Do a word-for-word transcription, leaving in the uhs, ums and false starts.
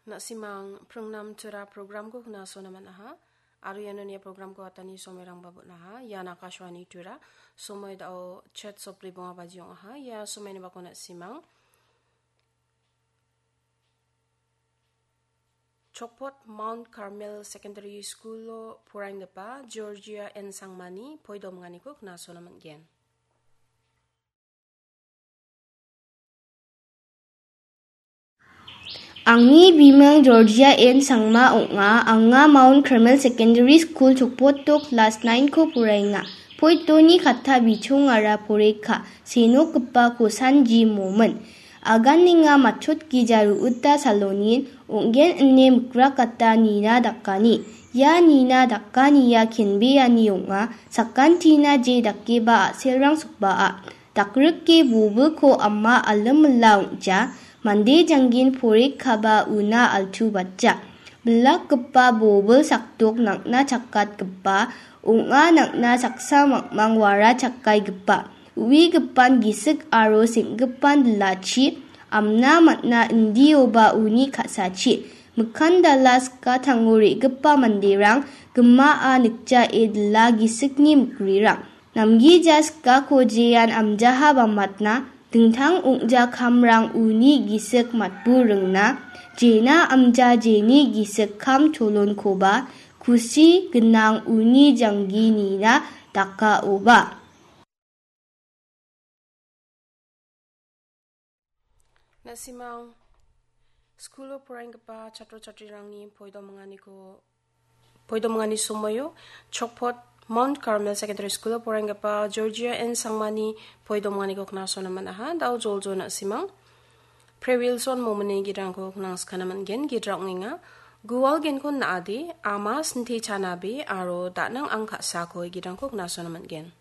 Na·simang pringnam Tura programko knasona man·aha. Aro iano nia programko atani somoirangba bon·aha. Ian Akashvani Tura. Somoi dao chet sopri bonga baji ong·aha. Ia somoini bako na·simang Chokpot Mount Carmel Secondary School-o poraienggipa Georgia N Sangmani poidominganiko knasona man·gen. Angni biming Georgia N Sangma ong·a. Anga Mount Carmel Secondary School Chokpoto klas nine-ko poraenga. Poitoni katta bichongara poreka, senokgipa kosanji momin. Aganenga matchotgija ru·ita salonin ong·gen ine mikrakata nina dakani. Ia nina dakania kenbeani ong·a, sakantina je dakeba a·selrang sokbaa. Dakrike bobilko ama alimila ong·ja, mande janggin porekaba una altubatja. Bilakgipa bobil sakdok nang·na chakatgipa ong·a, nang·na saksa mangmang wara chakaigipa. Uigipan gisik aro seng·gipan dilachi amna man·a, indioba uni ka·sachi. Mikkandala sikatango re·gipa manderang gimaa nikjae dila gisikni mikrirang. Namgija sikako jean amjaha bamatna, dingtang ong·ja kamrang uni gisik matburingna, jena amja jeni gisik kam cholonkoba, kusi gnang uni janggi nina dakaoba. Na·simang, skulo poraienggipa chatro chatrirangni poidominganiko, poidomingani somoio Chokpot Mount Carmel Secondary School-o poraienggipa Georgia N Sangmani poidominganiko knasona man·aha. Dao joljol na·simang. Pre Wilson momini gidrangko knangskana man·gen, gidra ong·enga. Gual genko na·ade, ama sinte chanabe, aro da·nang ang ka·sako gidrangko knasona man·gen.